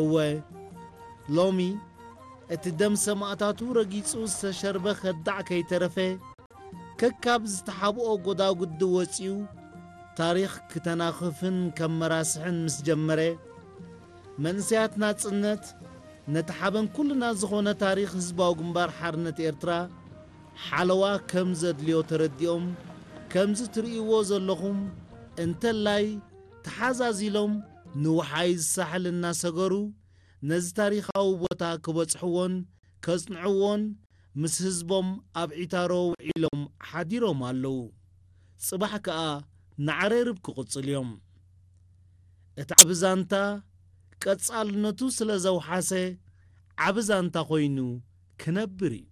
እወ፣ ሎሚ እቲ ደም ሰማእታቱ ረጊጹ ዝተሸርበ ከዳዕ ከይተረፈ፣ ከካብ ዝተሓብኦ ጎዳጉዲ ወጺኡ፣ ታሪኽ ክተናኽፍን ከመራስሕን ምስ ጀመረ፣ መንእሰያት ናጽነት ነቲ ሓበን ኩልና ዝኾነ ታሪኽ ህዝባዊ ግንባር ሓርነት ኤርትራ ሓለዋ ከም ዘድልዮ ተረዲኦም፣ ከምዚ ትርእይዎ ዘለኹም እንተላይ ተሓዛዚሎም ንውሓይ ዝሳሕል እናሰገሩ ነዚ ታሪኻዊ ቦታ ክበጽሕዎን ከጽንዕዎን ምስ ህዝቦም ኣብ ዒታሮ ውዒሎም ሓዲሮም ኣለዉ። ጽባሕ ከኣ ንዓሬርብ ክቕጽል እዮም። እቲ ዓቢ ዛንታ ቀጻልነቱ ስለ ዘውሓሰ ዓቢ ዛንታ ኮይኑ ክነብር እዩ።